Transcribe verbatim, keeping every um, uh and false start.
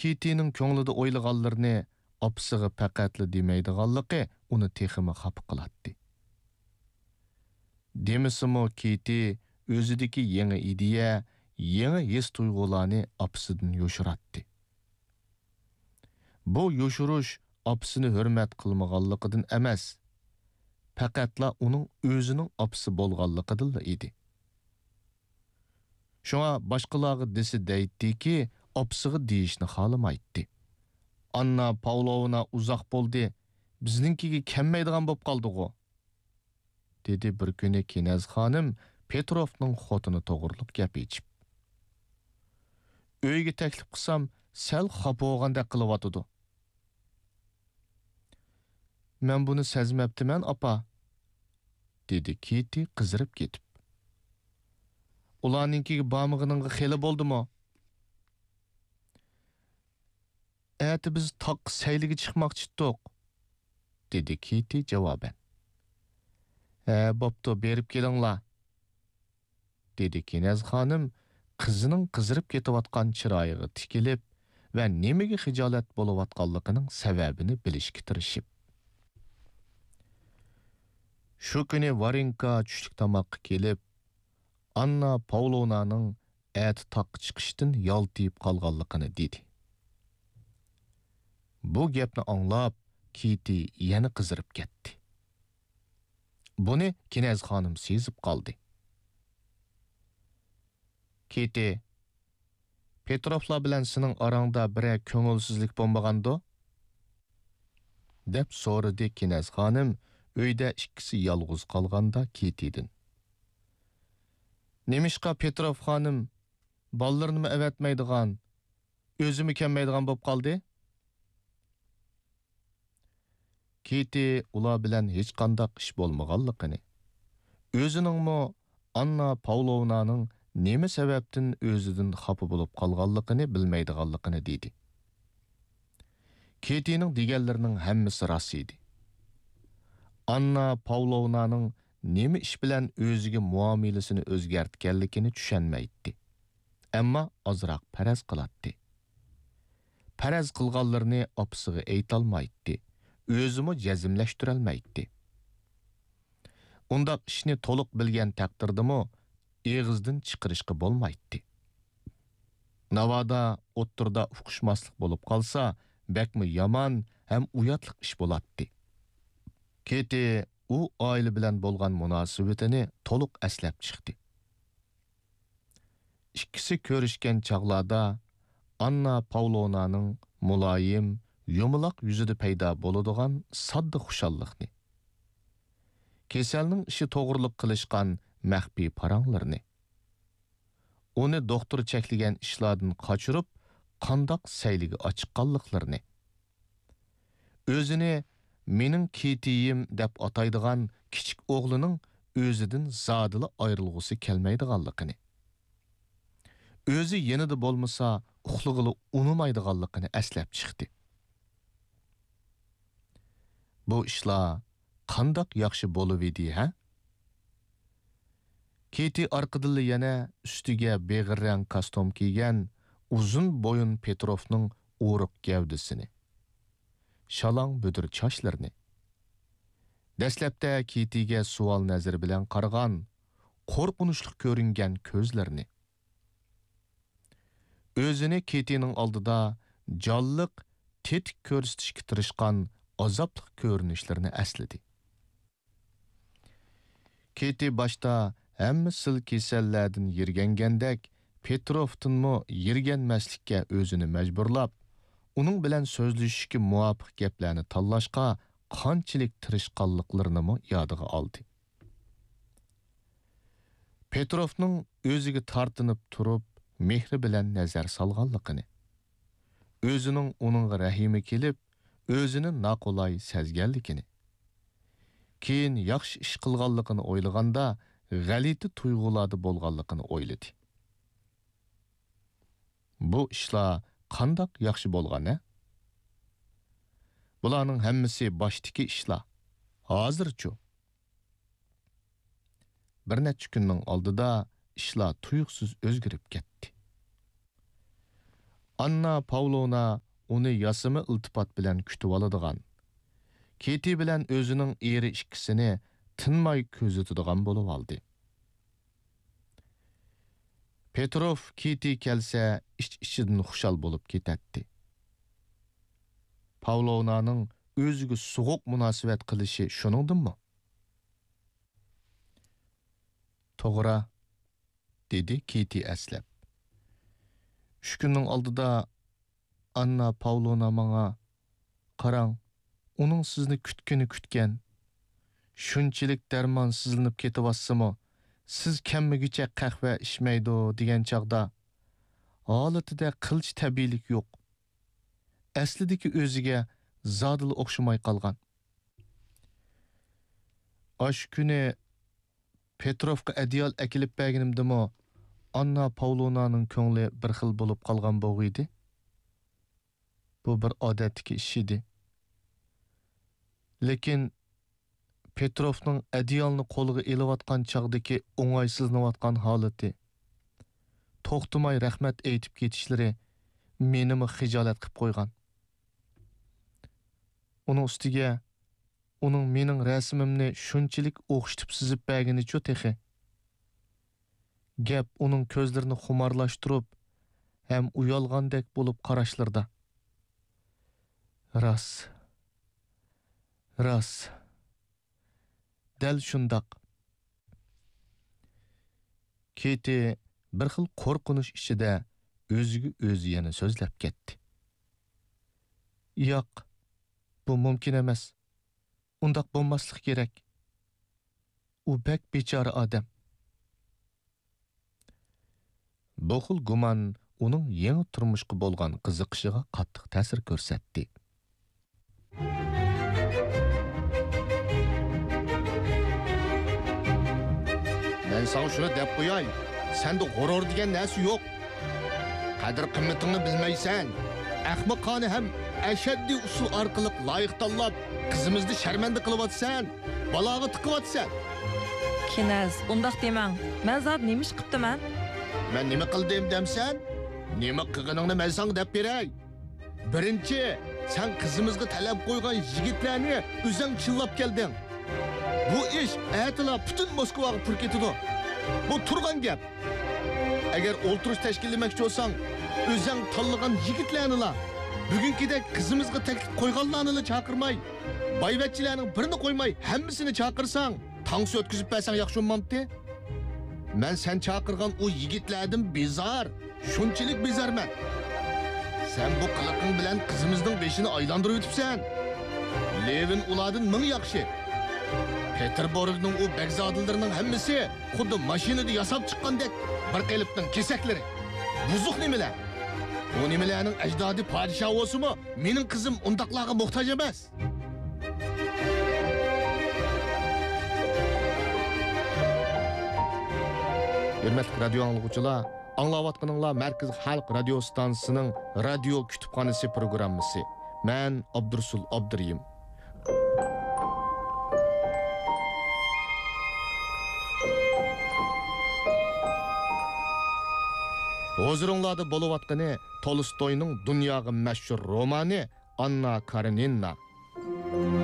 كىتىنىڭ كۆڭلىدە ئويلىغانلىرىنى ئاپىسىغا پەقەتلا دېمەيدىغانلىقى ئۇنى تېخىمۇ خاپا قىلاتتى. دېمىسىمۇ، كىتى ئۆزىدىكى يېڭى ئىدىيە، يېڭى ھېس-تۇيغۇلارنى ئاپىسىدىن يوشۇراتتى. بۇ يوشۇرۇش ئاپىسىنى ھۆرمەت قىلمىغانلىقىدىن ئەمەس، پەقەتلا ئۇنىڭ ئۆزىنىڭ ئاپىسى بولغانلىقىدىنلا ئىدى. شۇڭا باشقىلارغا دېسە دەيتتىكى، ئاپىسىغا دېيىشنى خالىمايتتى. «ئاننا پاۋلوۋنا ئۇزاق بولدى، بىزنىڭكىگە كەلمەيدىغان بولۇپ قالدىغۇ؟» دېدى بىر كۈنى كىنەز خانىم پېتروفنىڭ خوتۇنى توغرۇلۇق گەپ ئېچىپ. «ئۆيگە تەكلىپ قىلسام، سەل خاپا بولغاندەك قىلىۋاتىدۇ.» «مەن بۇنى سەزمەپتىمەن، ئاپا.» دېدى كىتى قىزىرىپ كېتىپ. «ئۇلارنىڭكىگە بارمىغىنىڭغا خېلى بولدىمۇ؟» «ئەتە بىز تاغقا سەيلىگە چىقماقچىتتۇق،» دېدى كىتى جاۋابەن. «ھە، بوپتۇ، بېرىپ كېلىڭلار.» دېدى كىنەز خانىم قىزىنىڭ قىزىرىپ كېتىۋاتقان چىرايىغا تىكىلىپ ۋە نېمىگە خىجالەت بولۇۋاتقانلىقىنىڭ سەۋەبىنى بىلىشكە تىرىشىپ. شۇ كۈنى ۋارېنكا چۈشلۈك تاماققا كېلىپ، ئاننا پاۋلونانىڭ ئەتە تاغقا چىقىشتىن يالتىيىپ قالغانلىقىنى دېدى. بۇ گەپنى ئاڭلاپ، كىتى يەنە قىزىرىپ كەتتى. بۇنى كىنەز خانىم سېزىپ قالدى. «كىتى، پېتروفلار بىلەن سېنىڭ ئاراڭدا بىرەر كۆڭۈلسىزلىك بولمىغاندۇ؟» دەپ سورىدى كىنەز خانىم ئۆيدە ئىككىسى يالغۇز قالغاندا كىتىدىن. «نېمىشقا پېتروف خانىم بالىلىرىنىمۇ ئەۋەتمەيدىغان، ئۆزىمۇ كەلمەيدىغان بولۇپ قالدى؟» كىتى ئۇلار بىلەن ھېچقانداق ئىش بولمىغانلىقىنى، ئۆزىنىڭمۇ ئاننا پاۋلوۋنانىڭ نېمە سەۋەبتىن ئۆزىدىن خاپا بولۇپ قالغانلىقىنى بىلمەيدىغانلىقىنى دېدى. كىتىنىڭ دېگەنلىرىنىڭ ھەممىسى راست ئىدى. ئاننا پاۋلوۋنانىڭ نېمە ئىش بىلەن ئۆزىگە مۇئامىلىسىنى ئۆزگەرتكەنلىكىنى چۈشەنمەيتتى. ئەمما ئازراق پەرەز قىلاتتى. پەرەز قىلغانلىرىنى ئاپىسىغا ئېيتالمايتتى، ئۆزىمۇ جەزملەشتۈرەلمەيتتى. ئۇنداق ئىشنى تولۇق بىلگەن تەقدىردىمۇ ئېغىزدىن چىقىرىشقا بولمايتتى. ناۋادا ئوتتۇرىدا ئۇقۇشماسلىق بولۇپ قالسا، بەكمۇ يامان ھەم ئۇياتلىق ئىش بولاتتى. كىتى ئۇ ئائىلە بىلەن بولغان مۇناسىۋىتىنى تولۇق ئەسلەپ چىقتى. ئىككىسى كۆرۈشكەن چاغلاردا ئاننا پاۋلونانىڭ مۇلايىم، يۇمىلاق يۈزىدە پەيدا بولىدىغان ساددا خۇشاللىقنى، كېسەلنىڭ ئىشى توغرىلىق قىلىشقان مەخپىي پاراڭلىرىنى، ئۇنى دوختۇر چەكلىگەن ئىشلاردىن قاچۇرۇپ، قانداق سەيلىگە ئاچىققانلىقلىرىنى، ئۆزىنى «مېنىڭ كىتىيىم» دەپ ئاتايدىغان كىچىك ئوغلىنىڭ ئۆزىدىن زادىلا ئايرىلغۇسى كەلمەيدىغانلىقىنى، ئۆزى يېنىدا بولمىسا ئۇخلىغىلى ئۇنىمايدىغانلىقىنى ئەسلەپ چىقتى. بۇ ئىشلار قانداق ياخشى بولۇۋىدى، ھە؟ كىتى ئارقىدىنلا يەنە ئۈستىگە بېغىر رەڭ كاستيۇم كىيگەن ئۇزۇن بويۇن پېتروفنىڭ ئورۇق گەۋدىسىنى، شالاڭ بۈدۈر چاچلىرىنى، دەسلەپتە كىتىگە سوئال نەزىرى بىلەن قارىغان، قورقۇنچلۇق كۆرۈنگەن كۆزلىرىنى، ئۆزىنى كىتىنىڭ ئالدىدا جانلىق، تېتىك كۆرسىتىشكە تىرىشقان ئازابلىق كۆرۈنۈشلىرىنى ئەسلىدى. كىتى باشتا ھەممە سىل كېسەللەردىن يىرگەنگەندەك، پېتروفتىنمۇ يىرگەنمەسلىككە ئۆزىنى مەجبۇرلاپ، ئۇنىڭ بىلەن سۆزلىشىشكە مۇۋاپىق گەپلەرنى تاللاشقا قانچىلىك تىرىشقانلىقلىرىنىمۇ يادىغا ئالدى. پېتروفنىڭ ئۆزىگە تارتىنىپ تۇرۇپ، مېھرى بىلەن نەزەر سالغانلىقىنى، ئۆزىنىڭ ئۇنىڭغا رەھىمى كېلىپ، ئۆزىنى ناقولاي سەزگەنلىكىنى، كېيىن ياخشى ئىش قىلغانلىقىنى ئويلىغاندا، غەلىتە تۇيغۇلاردا بولغانلىقىنى ئويلىدى. بۇ ئىشلار قانداق ياخشى بولغان، ھە؟ بۇلارنىڭ ھەممىسى باشتىكى ئىشلار. ھازىرچۇ؟ بىر نەچچە كۈننىڭ ئالدىدا ئىشلار تۇيۇقسىز ئۆزگىرىپ كەتتى. ئاننا پاۋلونا ئۇنى ياسىما ئىلتىپات بىلەن كۈتۈۋالىدىغان، كېتى بىلەن ئۆزىنىڭ ئېرى ئىككىسىنى تىنماي كۆزىتىدىغان بولۇۋالدى. پېتروف كېتى كەلسە ئىچ-ئىچىدىن خۇشال بولۇپ كېتەتتى. پاۋلونانىڭ ئۆزىگە سوغۇق مۇناسىۋەت قىلىشى شۇنىڭدىنمۇ؟ توغرا، دېدى كېتى ئەسلەپ. ئۈچ كۈننىڭ ئالدىدا ئاننا پاۋلونا ماڭا، قاراڭ، ئۇنىڭ سىزنى كۈتكىنى كۈتكەن. شۇنچىلىك دەرمانسىزلىنىپ كېتىۋاتسىمۇ، سىز كەممىگۈچە قەھۋە ئىچمەيدۇ، دېگەن چاغدا، ھالىتىدە قىلچە تەبىئىيلىك يوق. ئەسلىدىكى ئۆزىگە زادىلا ئوخشىماي قالغان. ئاشۇ كۈنى پېتروفقا ئەدىيال ئەكېلىپ بەرگىنىمدىمۇ ئاننا پاۋلونانىڭ كۆڭلى بىر خىل بولۇپ قالغان بوغۇيدى. بۇ بىر ئادەتتىكى ئىش ئىدى. لېكىن پېتروفنىڭ ئەدىيالنى قولىغا ئېلىۋاتقان چاغدىكى ئوڭايسىزلىنىۋاتقان ھالىتى، توختىماي رەھمەت ئېيتىپ كېتىشلىرى مېنىمۇ خىجالەت قىپ قويغان. ئۇنىڭ ئۈستىگە ئۇنىڭ مېنىڭ رەسىمىمنى شۇنچىلىك ئوخشىتىپ سىزىپ بەرگىنىچۇ تېخى. گەپ ئۇنىڭ كۆزلىرىنى خۇمارلاشتۇرۇپ ھەم ئۇيالغاندەك بولۇپ قاراشلىرىدا. راست. راست. دەل شۇنداق. كېتى بىر خىل قورقۇنچ ئىچىدە ئۆزىگە ئۆزى يەنە سۆزلەپ كەتتى. ياق، بۇ مۇمكىن ئەمەس. ئۇنداق بولماسلىقى كېرەك. ئۇ بەك بىچارە ئادەم. بۇ خىل گۇمان ئۇنىڭ يېڭى تۇرمۇشقا بولغان قىزىقىشىغا قاتتىق تەسىر كۆرسەتتى. مەن ساڭا شۇنى دەپ قوياي، سەندە غۇرۇر دېگەن نەرسە يوق. قەدىر-قىممىتىڭنى بىلمەيسەن. ئەخمىقانە ھەم ئەشەددىي ئۇسۇل ئارقىلىق لايىق تاللاپ، قىزىمىزنى شەرمەندە قىلىۋاتىسەن، بالاغا تىقىۋاتىسەن. كىنەز، ئۇنداق دېمەڭ. مەن زادى نېمە ئىش قىپتىمەن؟ مەن نېمە قىلدىم دەمسەن؟ نېمە قىلغىنىڭنى مەن ساڭا دەپ بېرەي. بىرىنچى، سەن قىزىمىزغا تەلەپ قويغان يىگىتلەرنى ئۆزەڭ چىللاپ كەلدىڭ. بۇ ئىش ئەتىلا پۈتۈن موسكۋاغا پۇر كېتىدۇ. بۇ تۇرغان گەپ. ئەگەر ئولتۇرۇش تەشكىللىمەكچى بولساڭ، ئۆزەڭ تاللىغان يىگىتلەرنىلا، بۈگۈنكىدەك قىزىمىزغا تەكلىپ قويغانلارنىلا چاقىرماي، بايۋەچچىلەرنىڭ بىرىنى قويماي ھەممىسىنى چاقىرساڭ، تانسا ئۆتكۈزۈپ بەرسەڭ ياخشى بولمامتى؟ مەن سەن چاقىرغان ئۇ يىگىتلەردىن بىزار، شۇنچىلىك بىزارمەن. سەن بۇ قىلىقىڭ بىلەن قىزىمىزنىڭ بېشىنى ئايلاندۇرۇۋېتىپسەن. لېۋىن ئۇلاردىن مىڭ ياخشى. پېتېربۇرگنىڭ ئۇ بەگزادىلىرىنىڭ ھەممىسى خۇددى ماشىنىدا ياساپ چىققاندەك بىر قېلىپنىڭ كېسەكلىرى. بۇزۇق نېمىلەر؟ ئۇ نېمىلەرنىڭ ئەجدادى پادىشاھ بولسىمۇ، مېنىڭ قىزىم ئۇنداقلارغا موھتاج ئەمەس. ھۆرمەتلىك رادىيو ئاڭلىغۇچىلار، ئاڭلاۋاتقىنىڭلار مەركىزىي خەلق رادىيو ستانسىسىنىڭ رادىيو كۇتۇپخانىسى پروگراممىسى. مەن ئابدۇرۇسۇل ئابدۇرېھىم. ھۇزۇرۇڭلاردا بولۇۋاتقىنى تولستوينىڭ دۇنياغا مەشھۇر رومانى ئاننا كارېنىنا.